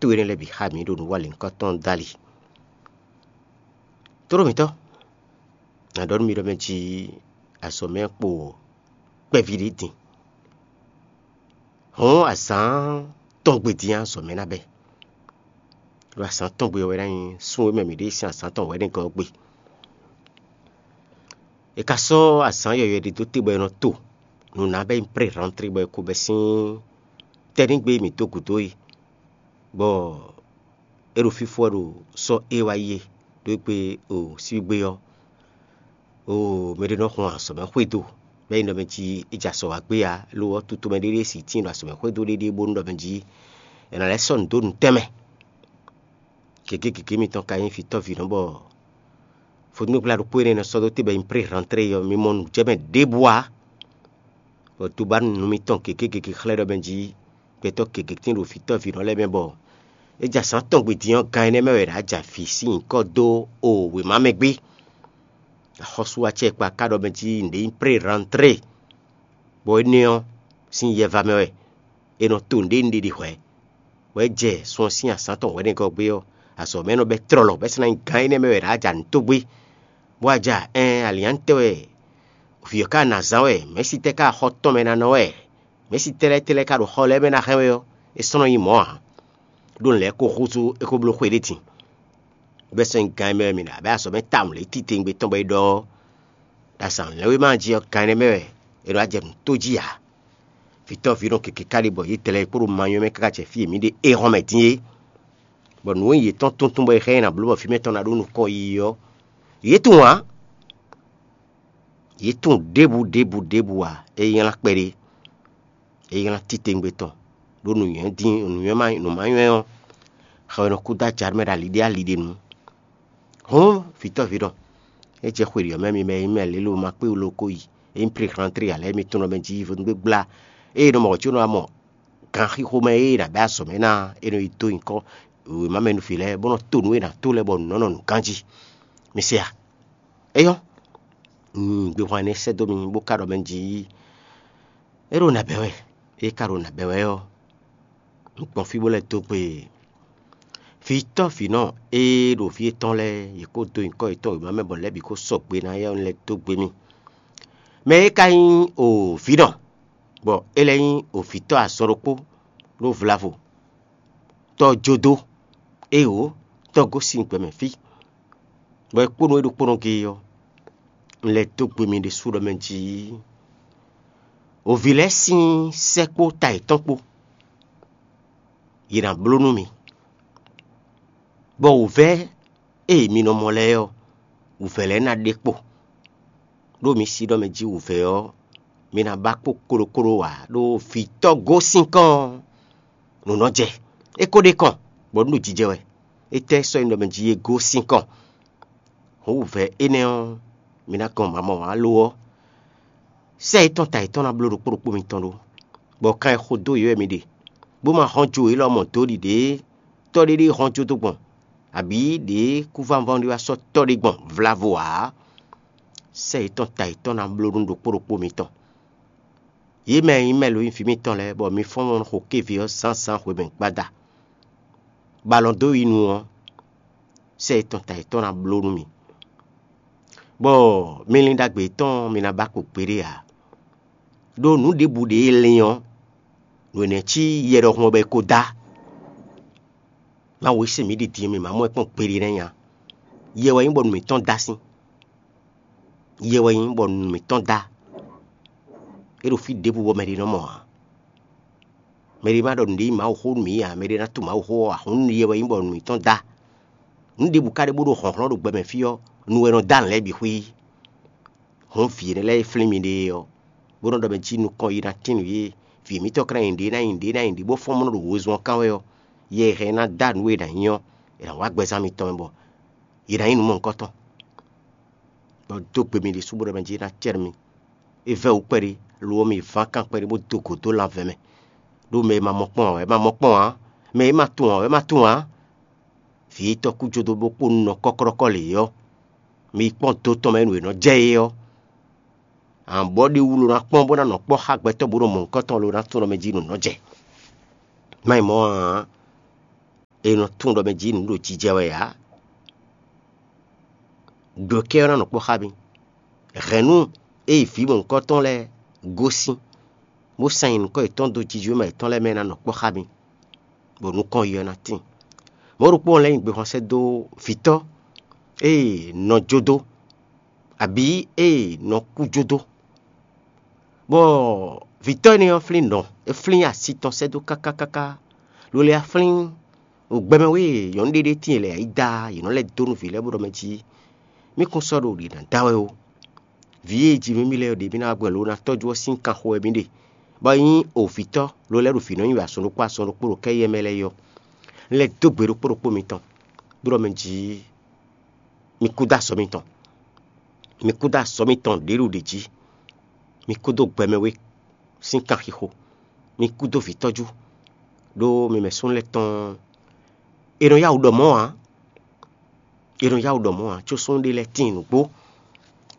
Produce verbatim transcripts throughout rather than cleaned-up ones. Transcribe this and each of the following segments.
Xwé énɛ́ lɛ́ɛ bǐ xá mǐ ɖo nǔwanlɛ́núkɔntɔn dó ali. Tlóló mǐtɔn, nǎ ɖɔ nú mi ɖɔ mɛ jí azɔ̌ mɛ kpo kpɛví ɖé din. Hɔ̌n azǎn tɔn gbe din azɔ̌ mɛ ná bɛ́. Ɖo azǎn tɔn gbe ɔ́ wɛ ná nyí sún e mɛ mǐ ɖe sín azǎn tɔn wɛ̌nɛgɔ́ ɔ́ gbe. È ka sɔ́ azǎn yɔ̌yɔ́ ɖé dó te bɔ è nɔ to nǔ ná bɔ é nyí pré-rantré bɔ è ko bɛ́ sín tɛ́nɖígbe mǐ dó gǔdo é, bɔ é ɖo fífó wɛ ɖo sɔ́ é wá yi é, ɖó é gbe o síbígbe ɔ́, o mɛ ɖé nɔ hun azɔ̌ mɛ xwedó, bɔ é nyí ɖɔ mɛ jí é jɛ azɔ̌ wá gbé ǎ, lo ɔ́, tutomɛ ɖé ɖíe si tíin ɖo azɔ̌ mɛ xwedó ɖéɖée bónú ɖɔ mɛ jí è nǎ lɛ́ sɔ́ nǔ dó nǔ tɛnmɛ. Gěgé gěgé mitɔn ka nyí vǐtɔ́ vǐ nɔ bɔ vodúngbla ɖokpó énɛ́ nɔ sɔ́ dó te bɔ nyí pré-rantré ɔ́, mi mɔ nǔ jɛ mɛ ɖěbǔ ǎ. Bɔ tobánu mitɔn gěgé gěgé xlɛ́ ɖɔ mɛ jí gbɛtɔ́ gěgé tín ɖo vǐtɔ́ vǐ nɔ lɛ́ɛ mɛ bɔ é jɛ azǎn tɔn gbe din ɔ́, gan énɛ́ mɛ wɛ è nǎ jɛ avǐ sín nyǐkɔ dó o wěma mɛ gbé. Axɔ́sú acɛkpa ka ɖɔ mɛ jí nǔɖé nyí pré-rantré, bɔ énɛ́ ɔ́, sín yɛva mɛ wɛ è nɔ to nǔɖé nǔɖé ɖi hwɛ̌. Bɔ é jɛ sun ɔ́ sín azǎn tɔn hwɛ̌nɛgɔ́ gbé ɔ́, azɔ̌ mɛ nɔ bɛ́ tlɔlɔ, bɔ é sɔ́ ná nyí gán énɛ́ mɛ wɛ è nǎ jɛ nǔ tó gbé, bó wá jɛ ɛɛn alǐnnyánútɛ́ wɛ vǐ ɔ́ ka ná zán wɛ, mɛ̌si tɛ́ ka xɔ tɔn mɛ ná nɔ wɛ, mɛ̌si tɛ́ lɛ́ɛ tɛ́ lɛ́ɛ ka ɖo xɔ lɛ́ɛ mɛ ná hɛn wɛ ɔ́, é sɔ́ nɔ nyí mɔ̌ ǎ. Ɖó nǔ lɛ́ɛ ko húzú é ko bló xwe ɖé din. Bɛ́ sɔ́ nyí gán e mɛ wɛ mǐ ɖo abǐ azɔ̌ mɛ tawun lě titewungbe tɔn bɔ é ɖɔ ɔ́, ɖo azǎn lɛ́nwéma jí ɔ́, gán énɛ́ mɛ wɛ è nɔ wá jɛ nǔ tó jí ǎ. Vǐtɔ́ví nɔ keke káɖí bɔ yě tlɛ kpódó manyɔ mɛ káká jɛ fí e mǐ ɖe éhɔ́n mɛ dín é, bɔ nǔ e yětɔn tuntun bɔ è xá ɛ nyi nǎ bló bɔ fí mɛ tɔn ná ɖó nukɔn yiyi ɔ́, yě tunwun ǎ. Yě tunwun ɖěbǔ ɖěbǔ ɖěbǔ ǎ, é nylá kpɛɖé, é nylá titewungbe tɔn, ɖó nǔnywɛ́ dín nǔnywɛ́ ma nǔ ma nywɛ́ ɔ́, xɛ wɛ nɔ kú dó aja mɛ ɖo ali ɖé ali ɖé nu. Hɔn, vǐtɔ́ví ɖɔ, é jɛ xwe ɖiɖɔ mɛ mi mɛ e nyí mɛ lě lo ma kpé wú lo ko yi, é nyí pré-rantré ǎ lɛ́ɛ mi tunwun ɖɔ mɛ jí vodúngbégbla ée nɔ mɔ ɔ̌ có nɔ wá mɔ ganxixo mɛ e è nǎ bɛ́ azɔ̌ mɛ ná é nɔ yi dó nyǐkɔ wěma mɛ nú vǐ lɛ́ɛ bó nɔ to nǔ e è nǎ to lɛ́ɛ bɔ nǔ nɔ nɔ nǔ ganjí. Mi se a? Éyɔ́, un gbehwan énɛ́ sɛ́ dó mi bó ka ɖɔ mɛ jí é ɖo nǎ bɛ́ wɛ. É ka ɖo nǎ bɛ́ wɛ ɔ́, un gbɔn fí bó lɛ́ dó gbe vǐtɔ́ vǐnɔ e ɖo fí étɔn lɛ́ɛ, yě kó dó nyǐkɔ yětɔn wěma mɛ bɔ lɛ́ bǐ kó sɔgbe ná éyɛ́ lɛ́ dó gbe mì. Mɛ e ka nyí o vǐnɔ, bɔ é lɛ́ nyí o vǐtɔ́ azɔn ɖokpó ɖó vlavo, tɔ́ jó dó, éeǒ, tɔ́ gosín gbɛmɛ fí, bɔ é kpónɔ é ɖokpónɔ géé ɔ́, un lɛ́ dó gbe mì ɖésú ɖɔ mɛ jí o vǐ lɛ́ɛ sín sɛ́ kpó ta yětɔn kpó, yě ná bló nú mi, bɔ wǔvɛ́ e mi nɔ mɔ lɛ́ɛ ɔ́, wǔvɛ́ lɛ́ɛ ná ɖe kpo. Ɖó mi sí ɖɔ mɛ jí wǔvɛ́ ɔ́, mi ná ba kpo kóɖókóɖó ǎ, ɖó vǐtɔ́ gosín kɔn ɔ́, nǔ nɔ jɛ. É ko ɖe kɔn, bɔ nǔ ɖo jijɛ wɛ. Étɛ́ sɔ́ nyí ɖɔ mɛ jí é gosín kɔn? Hǔn wǔvɛ́ énɛ́ ɔ́, mi ná gɔn mamɔ ǎ lo ɔ́, sɛ́ yětɔn ta yětɔn ná bló ɖokpó ɖokpó mitɔn ɖó, bɔ kan e xo dó yě wɛ mi ɖe, bó ma hɔn jo élɔ́ mɔ dó ɖiɖě tɔ́ ɖé ɖé hɔn jó dó gbɔn, abǐ ɖě kúvánvɔ́n ɖé wá sɔ́ tɔ́ ɖé gbɔn vlavo ǎ. Sɛ́ yětɔn ta yětɔn ná bló nú ɖokpó ɖokpó mitɔn. Yě mɛ e nyí mɛ lo nyí vǐ mitɔn lɛ́ɛ, bɔ mi fɔ́n mɔ xo kéví ɔ́ zǎnzǎn hwemɛ gbada, bɔ alɔ dó yi nu ɔ́, sɛ́ yětɔn ta yětɔn ná bló nú mi, bɔ mi lin ɖagbe yětɔn mi ná ba kpo gbeɖé ǎ. Ɖó nǔ ɖěbǔ ɖě e lin ɔ́, nǔ énɛ́ cí yɛ ɖɔhun ɔ́ bɔ è ko dá. Mawu e sɛn mǐ ɖi din ɔ́, mǐ ma mɔ ɛ kpɔ́n gbeɖé nɛ́ nya. Yɛ wɛ nyí bɔ nǔ mǐtɔn dá sín. Yɛ wɛ nyí bɔ nǔ mǐtɔn dá. É ɖo fí ɖěbǔ bɔ mɛɖé nɔ mɔ ǎ. Mɛɖé ma ɖɔ nǔɖé nyí Mawu xó nú mǐ ǎ, mɛɖé ná tunwun Mawu xó ɔ́ ǎ, hǔn yɛ wɛ nyí bɔ nǔ mǐtɔn dá. Nǔ ɖěbǔ ka ɖe bó ɖo hlɔ̌nhlɔ́n ɖo gbɛ mɛ fí ɔ́, nu wɛ nɔ dó alɔ lɛ́ɛ bǐ xwí. Hǔn vǐ énɛ́ lɛ́ɛ e flín mi ɖe é ɔ́, bó nɔ́ ɖɔ mɛ jí nukɔn yi ná tín nǔ yé, vǐ mǐtɔn ka ná nyi ɖě ná nyi ɖě ná nyi ɖě bó fɔ́n mɔ nɔ ɖo wezun ɔ́ kán wɛ ɔ́, yɛ e hɛn ná dó nǔ e è nǎ nyí ɔ́, è nǎ wá gbɛzán mitɔn mɛ bɔ yě ná nyí nǔ mɔ̌hunkɔtɔn. Bɔ dó gbe mi ɖésú bó ɖɔ mɛ jí é ná cɛ́ nú mi. É vɛ́ wǔ kpɛɖé, lo ɔ́ mi ván kan kpɛɖé bó dó gǒ dó lanvɛ mɛ. Ɖó mɛ e ma mɔ kpɔ́n ǎ wɛ é ma mɔ kpɔ́n ǎ, mɛ e ma tunwun ǎ wɛ é ma tunwun ǎ. Vǐ e tɔ́ kú jó dó bó kpó nɔ kɔ́klɔ́kɔ́ lě ɔ́, mi yi kpɔ́n do tɔn mɛ nǔ e nɔ jɛ é ɔ́. Amɔ̌ ɖi wú lo ná kpɔ́n bó ná nɔ kpɔ́ xá gbɛtɔ́ bó ɖo mɔ̌hunkɔtɔn lo ná tunwun mɛ jí nǔ nɔ jɛ. Má nyí mɔ̌ ǎ. è nɔ tunwun ɖɔ mɛ jí nǔ ɖo jijɛ wɛ ǎ. Ɖǒkɛ ɔ́ ná nɔ kpɔ́ xá mi. Hɛ̌nnu e yi vǐ mɔ̌hunkɔtɔn lɛ́ɛ gosín, bó sán nyi nǔkɔ yětɔn dó jijǐwéma yětɔn lɛ́ɛ mɛ ná nɔ kpɔ́ xá mi, bɔ nukɔn yi ɔ́ ná tíin. Mɔ̌ ɖokpó ɔ́ lɛ́ nyi gbehwan sɛ́ dó vǐtɔ́ e nɔ jó dó, abǐ e nɔ kú jó dó, bɔ vǐtɔ́ énɛ́ ɔ́ flín nɔ, é flín asi tɔn sɛ́ dó káká káká, lolé ɔ́ flín ɖo gbɛmɛ wé e nyɔ̌nu ɖé ɖé tíin lɛ̌ yi da yě nɔ lɛ́ dó nú vǐ lɛ́ɛ bó ɖɔ mɛ jí mí kún sɔ́ ɖo ɖě ná da wɛ ó. Vǐ e ji mí mì lɛ́ɛ ɔ́ ɖě mí ná wá gbɔn lo ná tɔ́jú ɔ́ sín kanxo wɛ mí ɖe, bɔ é nyí ovǐtɔ́ lo lɛ́ ɖo vǐ nɔ nyi wɛ azɔn ɖokpó azɔn ɖokpó ɖo kɛ́yɛ mɛ lɛ́ɛ yɔ. Un lɛ́ dó gbe ɖokpó ɖokpó mitɔn, bó ɖɔ mɛ jí mi kú dó azɔ̌ mitɔn, mi kú dó azɔ̌ mitɔn ɖě ɖo ɖě jí, mi kú dó gbɛmɛ wé sín kanxixo, mi kú dó vǐtɔ́jú, ɖó mi mɛ súnnu lɛ́ɛ tɔn è nɔ yá wǔ ɖɔ mɔ̌ ǎ. È nɔ yá wǔ ɖɔ mɔ̌ ǎ, có súnnu ɖé lɛ́ɛ tíin nǔgbó,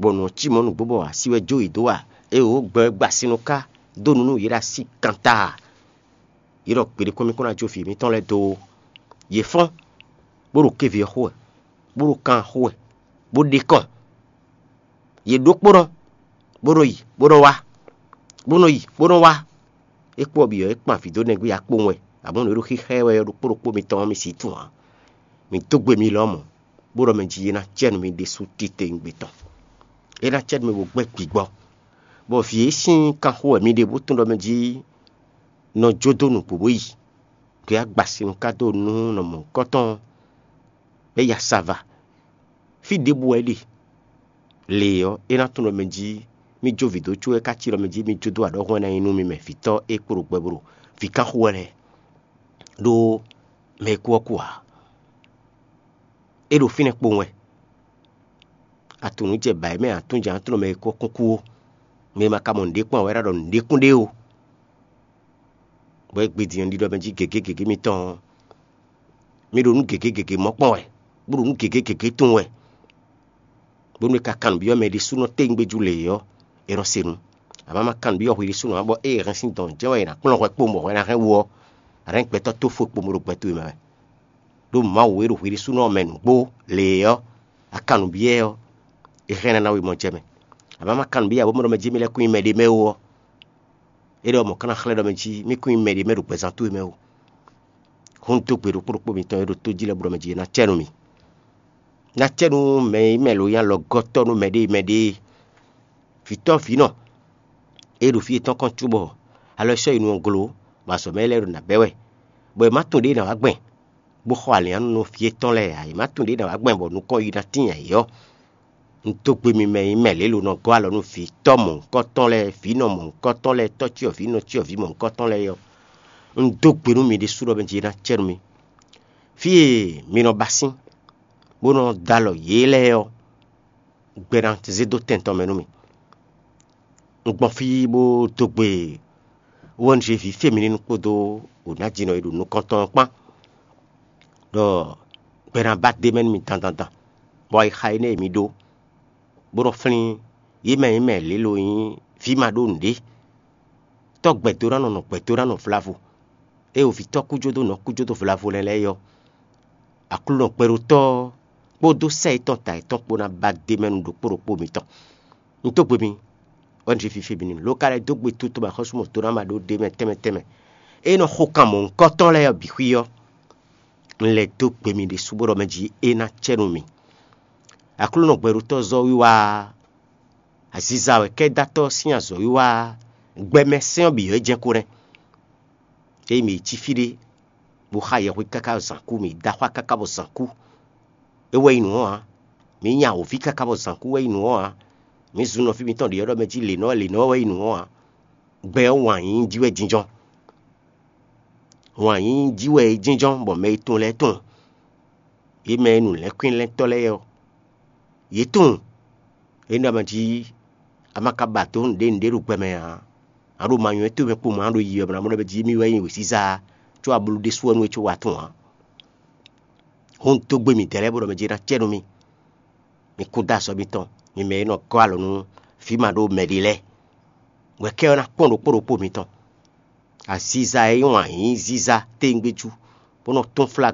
bɔ nǔ ɔ́ cí mɔ̌ nǔgbó bɔ así wɛ jó yě dó a? Éeǒ, gbɛ wɛ gba sin nɔ ká dó nǔ nú yě ɖo así kantaa. Yě ɖɔ gbeɖé kɔn mì kɔn ná jó vǐ mǐtɔn lɛ́ɛ dó ó. Yě fɔ́n, bó ɖo kéví ɔ́ xo wɛ, bó ɖo kan ɔ́ xo wɛ, bó ɖe kɔn. Yě ɖó kpónɔ, bó nɔ yi, bó nɔ wá, bó nɔ yi, bó nɔ wá. É kpó ɔ́ bǐ ɔ́, é kpan vǐ dó nɛgbé ya kpowun wɛ, amɔ̌ nǔ e ɖo xíxá ɛ wɛ ɔ́, ɖokpó ɖokpó mitɔn ɔ́, mi sǐ tunwun ǎ. Mi dó gbe mi lɔmɔ̌, bó ɖɔ mɛ jí é ná cɛ nú mi ɖésú titewungbe tɔn. É ná cɛ nú mi bó gbɛ́ gbigbɔ, bɔ vǐ e sín kanxo wɛ mi ɖe bó tunwun ɖɔ mɛ jí nɔ jó dó nǔgbó bó yi. Gbě agbasin nú ká dó nú nɔ mɔ̌hunkɔtɔn bɛ́ ya sa va. Fí ɖěbǔ wɛ é ɖe. Le ɔ́, é ná tunwun ɖɔ mɛ jí mì jó vǐ dó có wɛ ká cí ɖɔ mɛ jí mì jó dó aɖɔ́hún wɛ ná nyí nú mi mɛ vǐtɔ́ e kpo ɖo gbɛ bó ɖo vǐ kán xo wɛ lɛ́ɛ, ɖó mɛ e kú ɔ́ kú ǎ. É ɖo fínɛ́ kpowun wɛ. Atunǔ jɛ bǎ é mɛ atún jɛ ǎ tunwun mɛ e kú ɔ́ kún kú ó. Mɛ e ma ka mɔ nǔɖé kpɔ́n ǎ wɛ ɖɔ nǔɖé kún ɖe ó. Bɔ é gbe din ɔ́ ɖiɖɔ mɛ jí gěgé gěgé mitɔn ɔ́, mi ɖo nǔ gěgé gěgé mɔ kpɔn wɛ, bó ɖo nǔ gěgé gěgé tunwun wɛ, bónú è ka kan nǔ byɔ́ mɛ ɖésúnɔ téwúngbéjú lě ɔ́, è nɔ se nǔ. Amɔ̌ ma kan nǔ byɔ́ hwi ɖésúnɔ ǎ, bɔ ée è hɛn sín dɔ̌n jɛ́n wɛ è nǎ kplɔ́n hwɛ kpowun bɔ hwɛ ná hɛn wu ɔ́, a nǎ nyí gbɛtɔ́ tófó e kpo bó ɖo gbɛtɔ́ e mɛ wɛ. Ɖó Mawu e ɖo hwi ɖésúnɔ mɛ nǔgbó lě ɔ́, a kan nǔ byɔ́ ɛ ɔ́, è hɛn ná ná we mɔ jɛ mɛ. Amɔ̌ ma kan nǔ byɔ́ ǎ bó mɔ ɖɔ mɛ jí mi lɛ́ kún nyí mɛɖé mɛ ó ɔ́, é ɖɔ mɔ̌ ka ná xlɛ́ ɖɔ mɛ jí mì kún nyí mɛɖé mɛ ɖo gbɛzán towe mɛ ó. Hǔn dó gbe ɖokpó ɖokpó mitɔn e ɖo tó jí lɛ́ɛ bó ɖɔ mɛ jí é ná cɛ nú mì. Ná cɛ nú mɛ e nyí mɛ lo nyí alɔgɔ́tɔ́ nú mɛɖée mɛɖée. Vǐtɔ́ vǐnɔ e ɖo fí yětɔn kɔn cóbɔ alɔ sɔ́ yi nu ɔ́ glo, bɔ azɔ̌ mɛ lɛ́ɛ ɖo nǎ bɛ́ wɛ, bɔ è má tunwun ɖěe è nǎ wá gbɛn, bó xɔ alǐnnyánú nú fí yětɔn lɛ́ɛ ǎ; è má tunwun ɖěe è nǎ wá gbɛn bɔ nukɔn yi ná tíin ayǐ ɔ́. Un dó gbe mi mɛ e nyí mɛ lě lo nɔ gɔ́ alɔ nú vǐtɔ́ mɔ̌hunkɔtɔn lɛ́ɛ, vǐnɔ mɔ̌hunkɔtɔn lɛ́ɛ, tɔ́cyɔvǐ nɔcyɔvǐ mɔ̌hunkɔtɔn lɛ́ɛ ɔ́, un dó gbe nú mi ɖésú ɖɔ mɛ jí é ná cɛ nú mi. Fí e mi nɔ ba sín, bó nɔ dó alɔ yě lɛ́ɛ ɔ́, gbɛ ná zé dó tɛn tɔn mɛ nú mi. Un gbɔn fí bó dó gbe O N G vǐ Femininu kpódó wǒnájínɔ e ɖo nukɔn tɔn ɔ́ kpán, ɖɔ gbɛ ná ba d'é mɛ nú mi dandandan, bɔ ayixa énɛ́ e mi ɖó, bó nɔ flín yě mɛ e nyí mɛ lě lo nyí vǐ ma ɖó nǔɖé, tɔ́ gbɛdónánɔ nɔ gbɛdónánɔ vlavo, ée wovǐtɔ́ kújódónɔ kújódó vlavo lɛ́ɛ lɛ́ɛ é ɔ́, Aklúnɔ gbɛɖótɔ́ ɔ́ kpódó sɛ́ yětɔn ta yětɔn kpó ná ba d'é mɛ nú ɖokpó ɖokpó mitɔn. Un dó gbe mi, wɛ un ɖi fífí mi n'i, lo ka lɛ́ dó gbe tutu mɛ xɔ́súmɔtɔ́ ná ma ɖó ɖ'é mɛ tɛnmɛ tɛnmɛ. É nɔ xo kan mɔ̌hunkɔtɔn lɛ́ɛ ɔ́ bǐ xwí ɔ́, un lɛ́ dó gbe mi ɖésú bó ɖɔ mɛ jí é ná cɛ nú mi. Aklúnɔ gbɛɖótɔ́ zɔ́ wiwa aziza wɛ kɛ́dátɔ́ sín azɔ̌wiwa gbɛmɛ sɛ́n ɔ́ bǐ ɔ́ jɛ́n ko nɛ́. Ényí mǐ yi cí fí ɖé, bó xa yɛhwe káká bɔ zǎn kú, mǐ dó axwá káká bɔ zǎn kú. É wɛ nyí nǔ ɔ́ ǎ. Mǐ nya wǒví káká bɔ zǎn kú wɛ nyí nǔ ɔ́ ǎ. Mǐ zun nɔ fí mitɔn ɖě ɔ́ ɖɔ mɛ jí lě nɔ wɛ lě nɔ wɛ nyí nǔ ɔ́ ǎ. Gbɛ ɔ́ wǎn yíyí jí wɛ jínjɔ́n. Wǎn yíyí jí wɛ é jínjɔ́n bɔ mɛ e tunwun lɛ́ɛ tunwun. Yě mɛ e nǔlɛ́nkwínlɛ́ntɔ́ lɛ́ɛ ɔ́, yě tunwun. Énɛ́ ɔ́ mɛ jí a ma ka ba dǒ nǔɖé nǔɖé ɖo gbɛ mɛ ǎ. A ɖo ma nywɛ́ towe mɛ kpowun ǎ ɖo yiyi ɔ́ mɛ ná mɔ ɖɔ mɛ jí émí wɛ nyí wěziza ǎ, có a blú ɖésú ɔ́ nú é có wá tunwun ǎ. Hǔn dó gbe midɛɛ lɛ́ɛ bó ɖɔ mɛ jí é ná cɛ nú mì. Mi kú dó azɔ̌ mitɔn, mi mɛ e nɔ gɔ́ alɔ nú vǐ ma ɖó mɛɖé lɛ́ɛ. Wɛ kɛ ɔ́ ná kpɔ́n ɖokpó ɖokpó mitɔn. Aziza e nyí wǎn yíyí ziza téngbéjú, bó nɔ túnflá